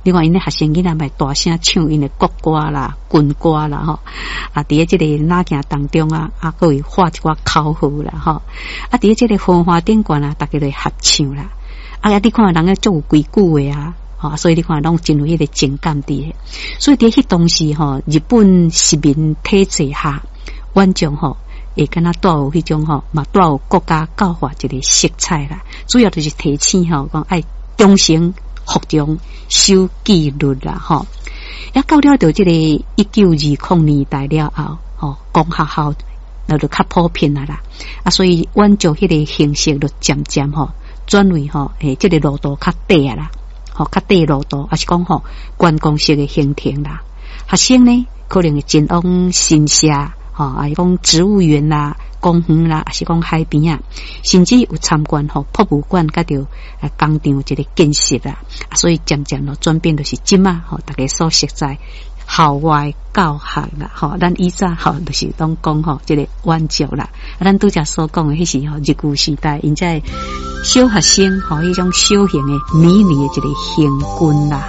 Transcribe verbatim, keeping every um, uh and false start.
你看𪜶的學生囡仔嘛大聲唱𪜶的國歌啦、軍歌啦吼。啊，佇咧這個哪行當中啊，啊，閣會喊一寡口號啦吼。啊，佇咧這個繁華頂懸啊，逐家就合唱啦。啊，你看人家足有規矩的啊，吼，所以你看攏真有彼個情感佇咧。所以佇彼當時吼，日本殖民體制下，遠足吼會敢若帶有彼種吼，嘛帶有國家教化一個色彩啦。主要就是提醒吼，講愛忠誠、服從、守紀律啦，吼。啊，到了著這個一九二零年代了後，吼，公學校那就較普遍啊啦。啊，所以遠足彼個形式就漸漸吼轉為吼，欸，這個路途較短啊啦，吼，較短路途，抑是講吼觀光式的行程啦。學生呢，可能會前往神社，吼，抑是講植物園啦、公園啦，抑是講海邊啊，甚至有參觀吼博物館，佮著工廠一個見識啦。所以漸漸囉轉變，就是這馬吼，逐家所熟知校外教學啦，吼，咱以前吼就是攏講吼這個遠足啦。啊，咱拄才所講的，彼是吼日據時代，𪜶這小學生吼彼種小型的迷你的一個行軍啦。